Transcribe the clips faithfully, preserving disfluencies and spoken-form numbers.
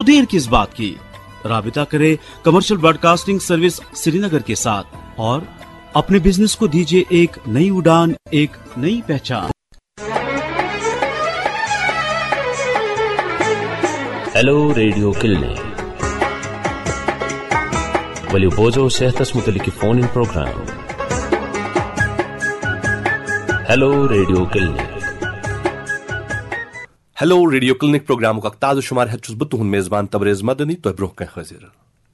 देर किस बात की? राबिता करें कमर्शियल ब्रॉडकास्टिंग सर्विस श्रीनगर के साथ और अपने बिजनेस को दीजिए एक नई उड़ान, एक नई पहचान। ہیلو ریڈیو کلنک۔ ؤلِو بوزو صحتس متعلق یہِ فون ان پروگرام۔ ہیلو ریڈیو کلنک۔ ہیلو ریڈیو کلنک پروگرامُک اکھ تازٕ شمار ہیتھ چھُس بہٕ تُہُنٛد میزبان تبریز مدنی تۄہہِ برونٛہہ کنہِ حٲضِر۔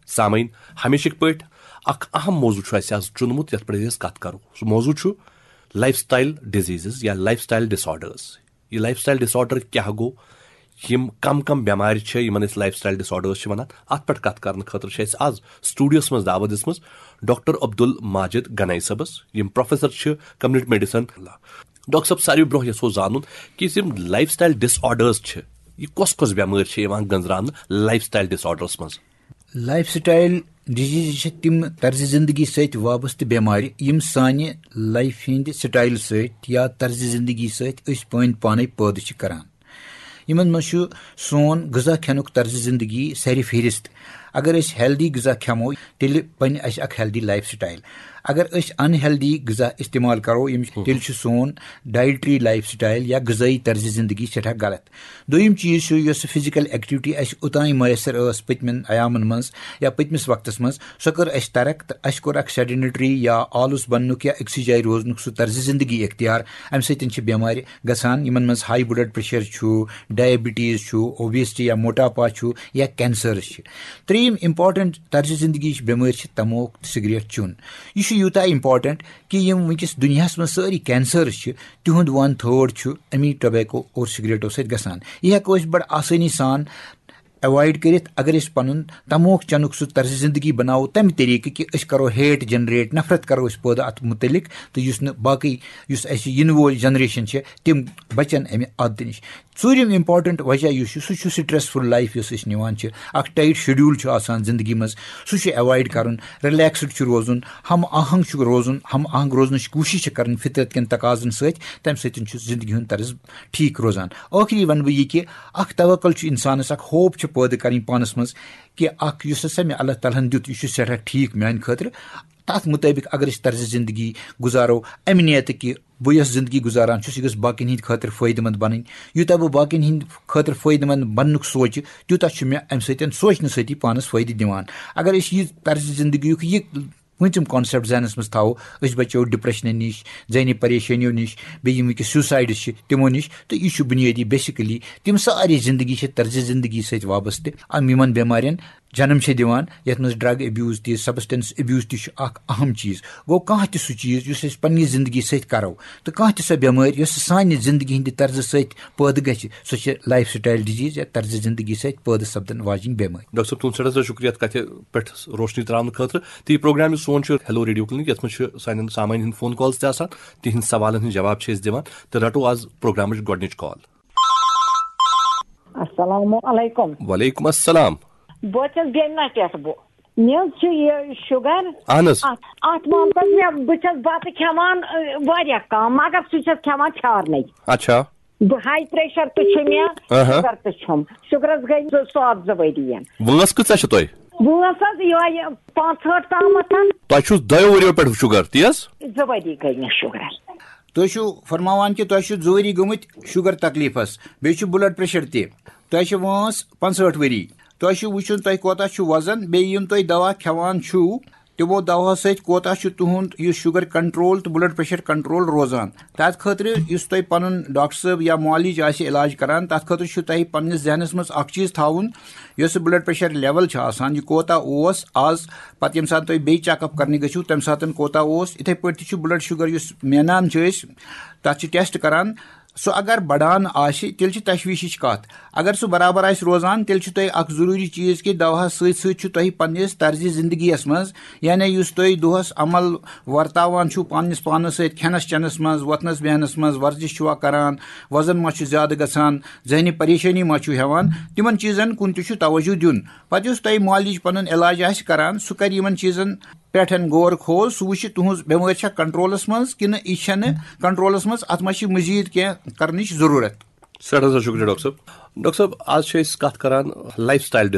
سامعین، ہمیشٕکۍ پٲٹھۍ اکھ اہم موضوع چھُ اسہِ آز چُنمُت یتھ پٮ۪ٹھ أسۍ کتھ کرو۔ سُہ موضوع چھُ لائف سٹائل ڈیزیزز یا لائف سٹائل ڈس آرڈرز۔ یہِ لائف سٹائل ڈس آرڈر کیٛاہ گوٚو؟ یِم کم کم بٮ۪مارِ چھِ یِمن أسۍ لائف سٹائل ڈس آرڈرز چھِ ونان، اتھ پٮ۪ٹھ کتھ کرنہٕ خٲطرٕ چھِ اسہِ آز سٹوڈیوس منٛز دعوت دِژمٕژ ڈاکٹر عبدل ماجد گنائی صٲبس، یِم پروفیسر چھِ کمیونٹی میڈیسن۔ ڈاکٹر صٲب، ساروی برونٛہہ یژھو زانُن کہِ یِم لائف سٹائل ڈس آرڈرز چھِ، یہِ کۄس کۄس بٮ۪مٲرۍ چھِ یِوان گنٛزراونہٕ لائف سٹائل ڈس آرڈرس منٛز؟ لائف سٹائل ڈیزیز چھِ تِم طرزِ زندگی سۭتۍ وابستہٕ بٮ۪مارِ، یِم سانہِ لائف ہٕنٛدِ سٹائل سۭتۍ یا طرزِ زندگی سۭتۍ أسۍ پٲنۍ پانے پٲدٕ چھِ کران۔ یِمن منٛز چھُ سون غذا کھٮ۪نُک طرزِ زندگی سرِ فہرست۔ اگر أسۍ ہیلدی غذا کھٮ۪مو، تیٚلہِ بنہِ اَسہِ اکھ ہیلدی لائف سٹائل۔ اگر أسۍ ان ہیلدی غذا استعمال کرو، یِم تیٚلہِ چھُ سون ڈائٹری لائف سٹائل یا غذٲیی طرزِ زندگی سٮ۪ٹھاہ غلط۔ دوٚیِم چیٖز چھُ، یۄس فزیکل ایکٹیویٹی اَسہِ اوٚتام میسر ٲس پٔتمٮ۪ن ایامن منٛز یا پٔتمِس وقتس منٛز، سۄ کٔر اَسہِ ترک تہٕ اَسہِ کوٚر اکھ سیڈنٹری یا آلُس بننُک یا أکسٕے جایہِ روزنُک سُہ طرزِ زندگی اختیار۔ اَمہِ سۭتۍ چھِ بٮ۪مارِ گژھان، یِمن منٛز ہائی بلڈ پریشر چھُ، ڈائبٹیز چھُ، اوبیسٹی یا موٹاپا چھُ یا کینسرز چھِ۔ ترٛیٚیِم امپورٹنٹ طرزِ زندگی چھِ بٮ۪مٲرۍ چھِ تموک تہٕ سگریٹ چیوٚن۔ یہِ چھُ یوٗتاہ امپورٹنٹ کہِ یِم وٕنکیٚس دُنیاہَس منٛز سٲری کینسرز چھِ، تِہُنٛد ون تھٲڈ چھُ اَمی ٹوبیکو اور سگریٹو سۭتۍ گژھان۔ یہِ ہٮ۪کو أسۍ بڑٕ آسٲنی سان ایوایڈ کٔرِتھ، اگر أسۍ پنُن تموک چنُک سُہ طرزِ زندگی بناوو تمہِ طریقہٕ کہِ أسۍ کرو ہیٹ جنریٹ، نفرت کرو أسۍ پٲدٕ اتھ متعلق، تہٕ یُس نہٕ باقٕے، یُس اسہِ یِنہٕ وول جنریشن چھِ، تِم بچن امہِ عادتہٕ نِش۔ ژوٗرِم امپورٹنٹ وجہ یُس چھُ، سُہ چھُ سٹریس فُل لائف یۄس أسۍ نِوان چھِ۔ اکھ ٹائٹ شیڈیول چھُ آسان زندگی منٛز، سُہ چھُ ایوایڈ کرُن، ریلیکسڈ چھُ روزُن، ہم آہنگ چھُ روزُن، ہم آہنگ روزنٕچ کوٗشش چھِ کرٕنۍ فطرت کٮ۪ن تقاضن سۭتۍ، تمہِ سۭتۍ چھُ زندگی ہُنٛد طرز ٹھیک روزان۔ ٲخری ونہٕ بہٕ یہِ کہِ اکھ توکل چھُ انسانس، اکھ ہوپ چھِ پٲدٕ کرٕنۍ پانس منٛز کہِ اکھ یُس ہسا مےٚ اللہ تعالیٰ ہن دیُت، یہِ چھُ سٮ۪ٹھاہ ٹھیک میانہِ خٲطرٕ۔ تتھ مطٲبق اگر أسۍ طرزِ زندگی گُزارو، امہِ نیتہٕ کہِ بہٕ یۄس زندگی گُزاران چھُس، یہِ گٔژھ باقین ہٕنٛدِ خٲطرٕ فٲیدٕ مند بنٕنۍ۔ یوٗتاہ بہٕ باقین ہٕنٛدِ خٲطرٕ فٲیدٕ مند بننُک سونٛچہِ، تیوٗتاہ چھُ مےٚ امہِ سۭتۍ سونٛچنہٕ سۭتی پانس فٲیدٕ دِوان۔ اگر أسۍ یہِ طرزِ زندگی یُک یہِ پوٗنٛژِم کانسیپٹ ذہنس منٛز تھاوو، أسۍ بچو ڈپریشنہٕ نِش، ذہنی پریشٲنیو نِش، بیٚیہِ یِم وٕنکیٚس سیوسایڈس چھِ، تِمو نِش۔ تہٕ یہِ چھُ بُنیٲدی، بیسکلی تِم سٲری زندگی چھِ طرزِ زندگی سۭتۍ وابستہٕ۔ یِم یِمن بٮ۪مارٮ۪ن جنم چھِ دِوان، یتھ منٛز ڈرگ ابیوز تہِ، سبسٹنس ابیوز تہِ چھُ اکھ اہم چیٖز۔ گوٚو، کانٛہہ تہِ سُہ چیٖز یُس أسۍ پننہِ زندگی سۭتۍ کرو، تہٕ کانٛہہ تہِ سۄ بٮ۪مٲرۍ یۄس سانہِ زندگی ہٕنٛدِ طرزٕ سۭتۍ پٲدٕ گژھِ، سۄ چھِ لائف سٹائل ڈیزیز یا طرزِ زندگی سۭتۍ پٲدٕ سپدن واجیٚنۍ بٮ۪مٲرۍ۔ ڈاکٹر صٲب، تُہُنٛد سٮ۪ٹھاہ سٮ۪ٹھاہ شُکریہ اَتھ کَتھِ پٮ۪ٹھ روشنی ترٛاونہٕ خٲطرٕ۔ تہٕ یہِ پروگرام یُس سون چھُ ہیلو ریڈیو کلینک، یَتھ منٛز چھُ سانٮ۪ن سامعیٖن ہٕنٛدۍ فون کالز تہِ آسان، تِہِنٛدۍ سوالَن ہٕنٛدۍ جواب چھِ أسۍ دِوان۔ تہٕ رَٹو آز پروگرامٕچ گۄڈٕنِچ کال۔ السلام علیکم۔ وعلیکم السلام۔ بہٕ حظ چھَس بیمنہ پٮ۪ٹھ۔ بہٕ، مےٚ حظ چھُ یہِ شُگر۔ اہن حظ۔ اَتھ، اَتھ معاملَس مےٚ، بہٕ چھَس بَتہٕ کھٮ۪وان، ٲ، واریاہ کَم، مگر سُہ چھَس کھٮ۪وان پھیٛارنَے۔ اچھا۔ بہٕ ہاے پریشر تہِ چھُ مےٚ، اہا۔ شُگر تہِ چھُم۔ شُگرَس گٔے زٕ ساس زٕ ؤری۔ وٲنٛس کۭژاہ چھِ تۄہہِ؟ وٲنٛس حظ یِہوٚے پانٛژہٲٹھ تامَتھ۔ تۄہہِ چھُو دۄیو ؤریو پٮ۪ٹھ شُگر، تی حظ؟ زٕ ؤری گٔے مےٚ شُگرَس۔ تُہۍ چھِو فرماوان کہِ تۄہہِ چھُ زٕ ؤری گٔمٕتۍ شُگر تکلیٖفَس، بیٚیہِ چھُ بلڈ پریشر تہِ۔ تۄہہِ چھِ وٲنٛس پانٛژہٲٹھ ؤری۔ تۄہہِ چھُ وٕچھُن تۄہہِ کوتاہ چھُ وزن، بیٚیہِ یِم تۄہہِ دوا کھٮ۪وان چھِو، تِمو دواہو سۭتۍ کوتاہ چھُ تُہُنٛد یُس شُگر کنٹرول تہٕ بلڈ پریشر کنٹرول روزان۔ تَتھ خٲطرٕ یُس تۄہہِ پنُن ڈاکٹر صٲب یا معالج آسہِ علاج کران، تَتھ خٲطرٕ چھُ تۄہہِ پننِس ذہنس منٛز اکھ چیٖز تھاوُن، یۄس یہِ بلڈ پریشر لیول چھِ آسان، یہِ کوتاہ اوس آز، پتہٕ ییٚمہِ ساتہٕ تُہۍ بیٚیہِ چیک اپ کرنہِ گٔژھِو، تَمہِ ساتہٕ کوتاہ اوس۔ یِتھَے پٲٹھۍ تہِ چھُ بلڈ شُگر یُس مینان چھِ أسۍ، تَتھ چھِ ٹیسٹ کران۔ سُہ اگر بڑان آسہِ، تیٚلہِ چھِ تشویشٕچ کتھ۔ اگر سُہ برابر آسہِ روزان، تیٚلہِ چھُ تۄہہِ اکھ ضروٗری چیٖز کہِ دواہس سۭتۍ سۭتۍ چھُ تۄہہِ پننِس طرزِ زندگی یس منٛز، یعنی یُس تُہۍ دۄہس عمل ورتاوان چھُو پننِس پانس سۭتۍ، کھٮ۪نس چٮ۪نس منٛز، وۄتھنس بیہنس منٛز، ورزش چھُوا کران، وزن ما چھُ زیادٕ گژھان، ذہنی پریشٲنی ما چھُو ہٮ۪وان، تِمن چیٖزن کُن تہِ چھُ توجہ دیُن۔ پتہٕ یُس تۄہہِ معالج پنُن علاج آسہِ کران، سُہ کرِ یِمن چیٖزن پٮ۪ٹھ غور خوض، سُہ وٕچھِ تُہنٛز بٮ۪مٲرۍ چھا کنٹرولس منٛز کِنہٕ یہِ چھنہٕ کنٹرولس منٛز، اتھ ما چھِ مزید کینٛہہ کرنٕچ ضروٗرت۔ سٮ۪ٹھاہ سٮ۪ٹھاہ شُکریہ ڈاکٹر صٲب۔ ڈاکٹر صٲب، آز چھِ أسۍ کتھ کران لائف سٹائل ڈس